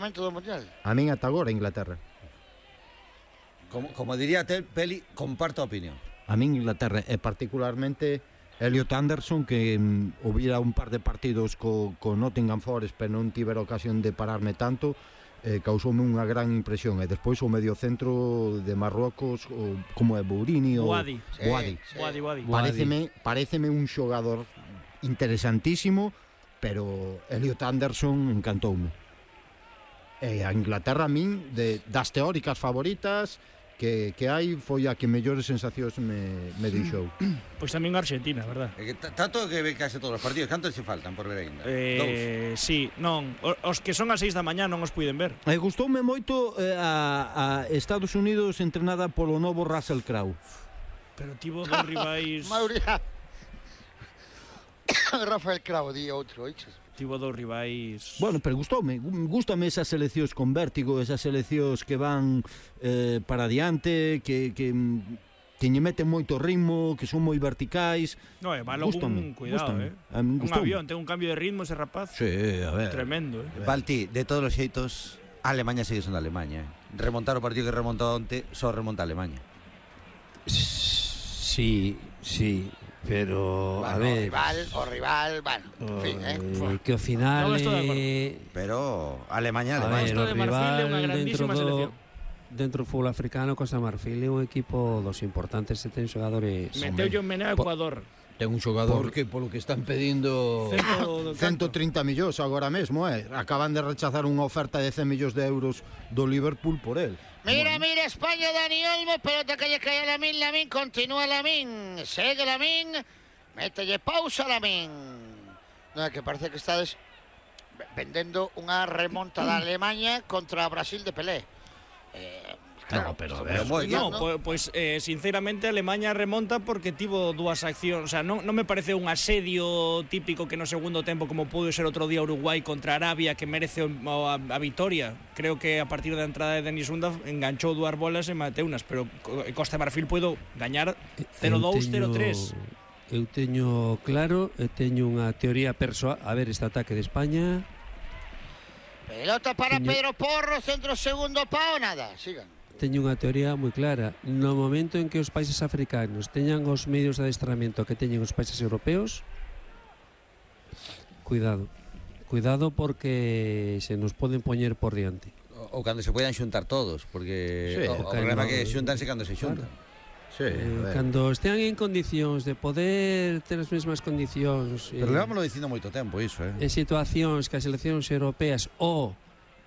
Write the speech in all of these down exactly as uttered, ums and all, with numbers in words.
momento do Mundial. A min ata agora Inglaterra. Como, como diría Tel Peli, comparto a opinión. A min Inglaterra, e particularmente Elliot Anderson, que mm, hubiera un par de partidos co, co Nottingham Forest, pero non tivera ocasión de pararme tanto, eh, causoume unha gran impresión. E despois o mediocentro de Marrocos, o, como é Bourini ou Boadi. Boadi. Sí, sí. Boadi, Boadi. Paréceme, paréceme un xogador interesantísimo, pero Elliot Anderson encantoume. E a Inglaterra a min, de, das teóricas favoritas que, que hai, foi a que mellores sensacións me, me deixou. Pois tamén Argentina, verdad? É que tanto que ve case todos os partidos, cantos se faltan por ver ainda? Eh, sí, non, os que son as seis da mañá non os puiden ver. E gustoume moito eh, a, a Estados Unidos entrenada polo novo Russell Crowe. Pero tivo dos rivais... Mauria. Rafael Cravo, di outro, oiches. Tivo dos rivais... Bueno, pero gustoume, gustame esas seleccións con vértigo, esas seleccións que van eh, para diante, que, que, que lle meten moito ritmo, que son moi verticais. No, é malo un cuidado, gústame. eh. A min Un gustoume. avión, ten un cambio de ritmo ese rapaz. Sí, a ver. Tremendo, eh. Balti, de todos os xeitos, Alemania segue sendo Alemania, eh. Remontar o partido que remontou onte, só remonta a Alemania. Sí, sí. Pero, Bueno, a ver... O rival, o rival, bueno, en fin, eh. eh, que ao final... Non estou de acordo. eh, Pero Alemania, a Alemania. ver, Costa o de Marfil é rival unha dentro grandísima do... selección. Dentro do fútbol africano, Costa de Marfil é un equipo dos importantes e ten xogadores... Meteulle un meneo a Ecuador. Ten un xogador Por- que polo que están pedindo Cento- ciento trinta millóns agora mesmo, eh. Acaban de rechazar unha oferta de cen millóns de euros do Liverpool por el. Mira, mira, España, Dani Olmo, pelota que lle cae a Lamín, Lamín, continúa Lamín, segue Lamín, mételle pausa Lamín. Non é que parece que estades vendendo unha remonta da Alemanha contra Brasil de Pelé. Eh, claro, No, pero a ver, moi No, ¿no? pois, pois eh, sinceramente Alemanha remonta porque tivo dúas accións, o sea, non, non me parece un asedio típico que no segundo tempo como pudo ser outro día Uruguai contra Arabia que merece o, a, a vitoria. Creo que a partir da entrada de Denis Unda enganchou dúas bolas e mateunas, pero Costa de Marfil puido gañar cero dous, cero tres. Eu teño claro, e teño unha teoría persoal. A ver, este ataque de España... pelota para Teño- Pedro Porro, centro segundo pao, nada, sigan. Teño unha teoría moi clara. No momento en que os países africanos teñan os medios de adestramento que teñen os países europeos, cuidado. Cuidado porque se nos poden poñer por diante. Ou cando se poidan xuntar todos, porque Sí, o, o cando- problema é que xuntanse cando se xuntan. Sí, Eh, cando estean en condicións de poder ter as mesmas condicións Pero eh, levámoslo dicindo moito tempo iso, eh. en situacións que as seleccións europeas ou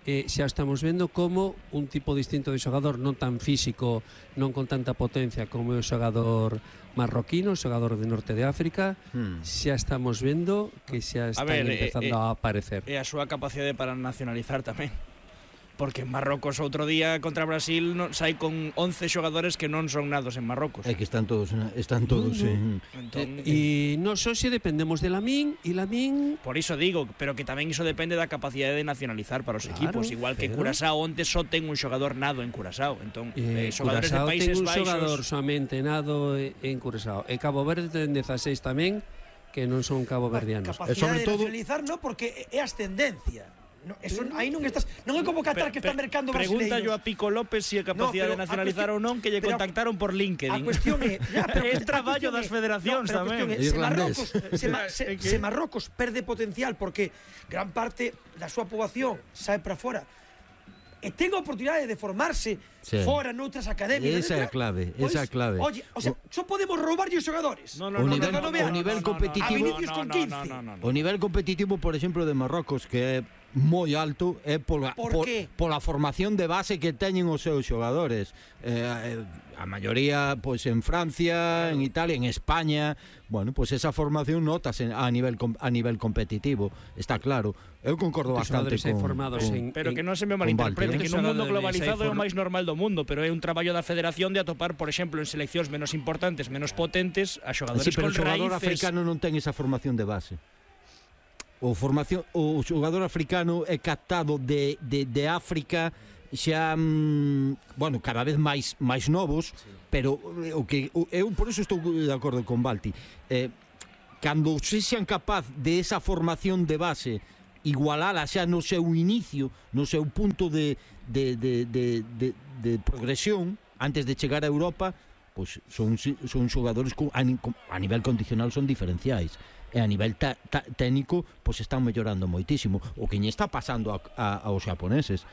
eh, xa estamos vendo como un tipo distinto de xogador non tan físico, non con tanta potencia como o xogador marroquino, o xogador de Norte de África, Hmm. xa estamos vendo que xa están ver, eh, empezando eh, a aparecer. E a súa capacidade para nacionalizar tamén. Porque en Marrocos outro día contra Brasil non, sai con once xogadores que non son nados en Marrocos. É que están todos están todos en Entón, E nós hoxe dependemos de Lamín e Lamín por iso digo, pero que tamén iso depende da capacidade de nacionalizar para os Claro, equipos, igual que pero- Curaçao onte só ten un xogador nado en Curaçao. Entón, Eh, eh, xogadores de Curaçao Países ten un Baixos. xogador somente nado en Curaçao. E Cabo Verde ten dezaseis tamén que non son caboverdianos. E Capacidade sobre de todo- nacionalizar, no, porque é ascendencia. No, eso, aí non estás, non é como Qatar que está mercando Pregunta yo brasileiros. a Pico López si é capacidade No, de pero a nacionalizar cuestión- ou non, que lle pero a- contactaron por LinkedIn. A cuestión é, ya, pero É a traballo cuestión das é- federacións no, pero a tamén. cuestión é, se Irlandés. Marrocos, se, ma- se, É que- se Marrocos perde potencial porque gran parte da súa poboación sae para fora e ten a oportunidade de formarse Sí. fora noutras academias. Esa é a clave, Pois, esa é a clave. Oye, o sea, só podemos roubarlle os xogadores. No, no, O no, nivel- no, no, o no, nivel no, no, competitivo- A Vinicius no, con no, quince. no, no, no, no. O nivel competitivo, por exemplo, de Marrocos, que é moi alto, é pola, Por por, qué? pola formación de base que teñen os seus xogadores. Eh, eh, a maioría pois en Francia, en Italia, en España. Bueno, pois esa formación notase a nivel com- a nivel competitivo, está claro. Eu concordo Os bastante xogadores aí con, formados con en, Pero que non se me con malinterprete, Balti, que eh? nun mundo Xogadores globalizado aí é o for- máis normal do mundo, pero é un traballo da federación de atopar, por exemplo, en seleccións menos importantes, menos potentes, a xogadores Sí, pero o con xogador raíces. africano non ten esa formación de base. O formación o xogador africano é captado de, de, de África xa mm, bueno, cada vez máis máis novos, sí. Pero o que o, eu por eso estou de acordo con Balti. Eh, cando se sean capaz de esa formación de base igualala xa no seu inicio, no seu punto de, de, de, de, de, de progresión antes de chegar a Europa, pois son, son xogadores con, a, a nivel condicional son diferenciais, e a nivel ta, ta, técnico pois están mellorando moitísimo. O que lle está pasando a, a, aos xaponeses,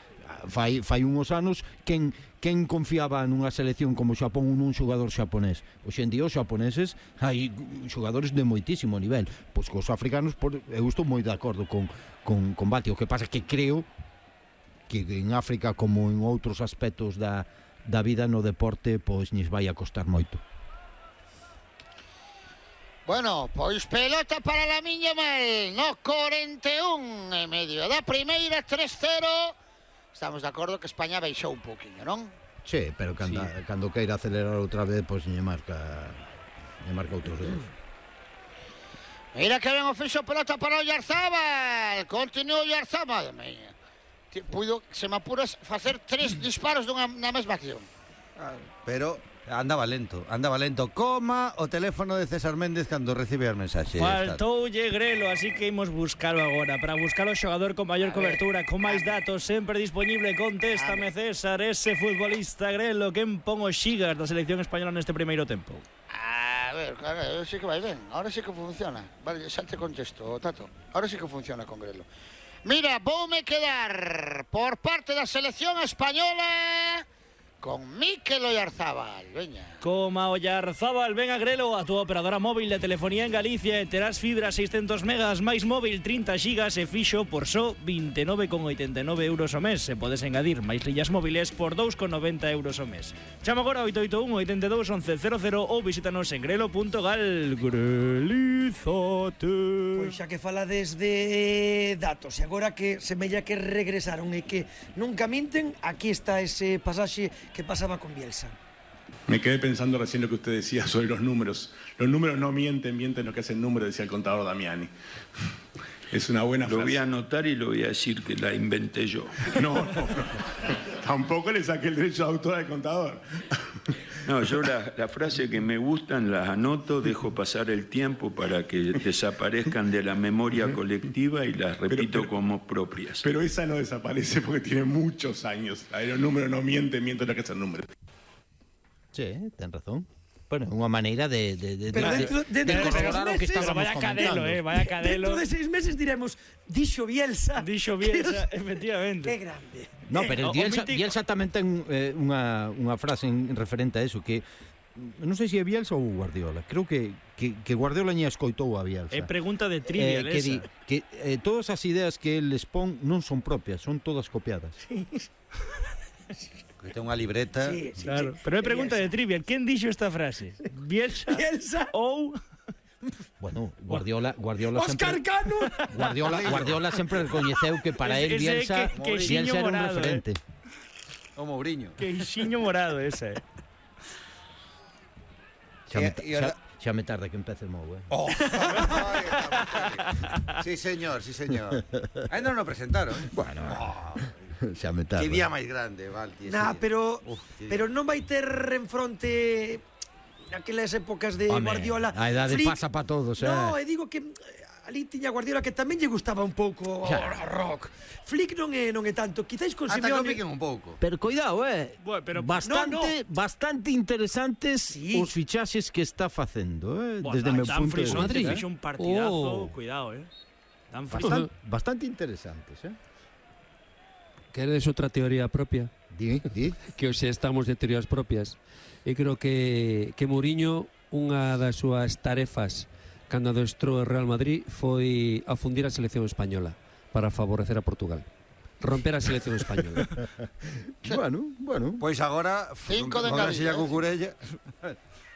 fai, fai uns anos quen, quen confiaba nunha selección como Xapón ou nun xogador xaponés. Hoxe en día os xaponeses hai xogadores de moitísimo nivel, pois cos africanos por, eu estou moi de acordo con, con, con Bati. O que pasa que creo que en África como en outros aspectos da, da vida no deporte pois lles vai a costar moito. Bueno, pois pelota para Lamine Yamal no corenta e un e medio da primeira, tres cero. Estamos de acordo que España baixou un pouquiño, non? Sí, pero cando, sí. cando queira acelerar outra vez, pois lle marca lle marca outros dedos. Mira que ben o fixo, pelota para o Oyarzabal. Continúa o Oyarzabal, madre mía. Puido, se me apuras, facer tres disparos dunha na mesma acción. Pero andaba lento, andaba lento. Coma o teléfono de César Méndez cando recibe as mensaxes. Faltoulle Grelo, así que imos buscalo agora. Para buscar o xogador con maior cobertura, con máis datos, sempre disponible. Contéstame, César, ese futbolista Grelo que pon os xigas da selección española neste primeiro tempo. A ver, a ver, sí que vai ben. Ahora sí que funciona. Vale, xa te contesto, Tato. Ahora sí que funciona con Grelo. Mira, voume quedar por parte da selección española con Mikel Oyarzabal, veña. Coma Oyarzabal, ven a Grelo, a túa operadora móvil de telefonía en Galicia, e terás fibra seiscentos megas máis móvil trinta gigas e fixo por só vinte e nove con oitenta e nove euros ao mes. E podes engadir máis lillas móviles por dous con noventa euros ao mes. Chama agora oito oito un, oito dous, once cero cero ou visítanos en grelo punto gal. Grelízate. Pois xa que fala desde datos, e agora que semella que regresaron e que nunca minten, aquí está ese pasaxe que pasaba con Bielsa. Me quedé pensando recién lo que usted decía sobre los números. Los números no mienten, mienten lo que hace el número, decía el contador Damiani. Es una buena frase. Lo voy a anotar y lo voy a decir que la inventé yo. No, no, no. Tampoco le saqué el derecho de autor al contador. No, yo las la frases que me gustan las anoto, dejo pasar el tiempo para que desaparezcan de la memoria colectiva y las repito pero, pero, como propias. Pero esa no desaparece porque tiene muchos años. A ver, los números no mienten, mienten lo que es el número. Sí, ten razón. Bueno, unha maneira de de de pero de, dentro, de, dentro de corroborar o que meses, estábamos vaya cadelo, eh, vaya cadelo. Dentro de seis meses diremos dixo Bielsa. Dixo Bielsa, efectivamente. Qué grande. No, pero Eh, Bielsa, mítico... Bielsa tamén ten eh, unha, unha frase en, referente a eso que non sei se é Bielsa ou Guardiola. Creo que, que, que Guardiola ña escoitou a Bielsa. É pregunta de trivial eh, que esa. di, que eh, todas as ideas que el expón non son propias, son todas copiadas. Que ten unha libreta. Sí, sí, Claro, sí. pero é pregunta de trivial. Quen dixo esta frase? Bielsa, Bielsa ou Bueno, Guardiola, Guardiola Óscar sempre Cano. Guardiola, Guardiola sempre recoñeceu que para Ese- él ese Bielsa, que- que Bielsa xiño era un morado, referente. O Mourinho. que xiño morado esa, eh. Xa me, E- e ahora- xa, xa me tarda que empece Mou, eh. Oh. Sí, señor, sí, señor. Ainda non o presentaron. eh? Bueno, Oh, xa me tarda. que día máis grande, Valti. ese Nah, día. pero Uf, que día. pero non vai ter en fronte naquelas épocas de Home, Guardiola. a idade Flick. pasa pa todos, eh. No, e digo que eh, ali tiña Guardiola que tamén lle gustaba un pouco Claro. o rock. Flick non é non é tanto, quizáis con Ata que o Simeone. piquen un pouco. Pero cuidado, eh. Bueno, pero- bastante, no, bastante interesantes Sí. os fichaxes que está facendo, eh, Buah, desde o meu Dan punto de Frison vista. te eh. fixo un partidazo, Oh. cuidado, eh. Dan Bastan, Frison. bastante interesantes, eh. Queredes outra teoría propia? Di, di. Que hoxe estamos de teorías propias. E creo que, que Mourinho, unha das súas tarefas cando adestrou o Real Madrid foi afundir a selección española para favorecer a Portugal. Romper a selección española. Bueno, bueno. Pois agora, Cinco de con engadida, a eh. cucurella.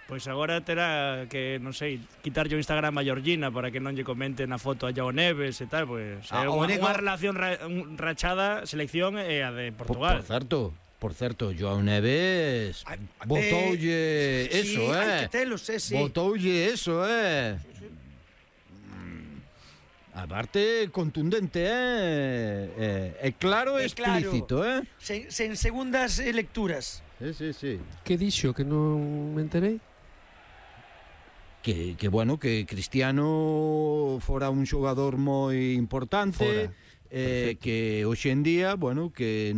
Pois agora terá que, non sei, quitarlle o Instagram a Georgina para que non lle comenten a foto a Joao Neves e tal, pois Ah, é o unha, único- unha relación ra, un, rachada selección e a de Por, Portugal. por certo, por certo, Joao Neves Ay, botoulle eh, eso, sí, eh. hai que telos, eh, sí. Botoulle eso, eh. Mm. Aparte, contundente, eh. Eh, é claro e É claro. explícito, eh. Sen, sen segundas eh, lecturas. Sí, sí, sí. Que dixo que non me enterei? Que, que bueno, que Cristiano fora un xogador moi importante, Fora. eh, que hoxe en día, bueno, que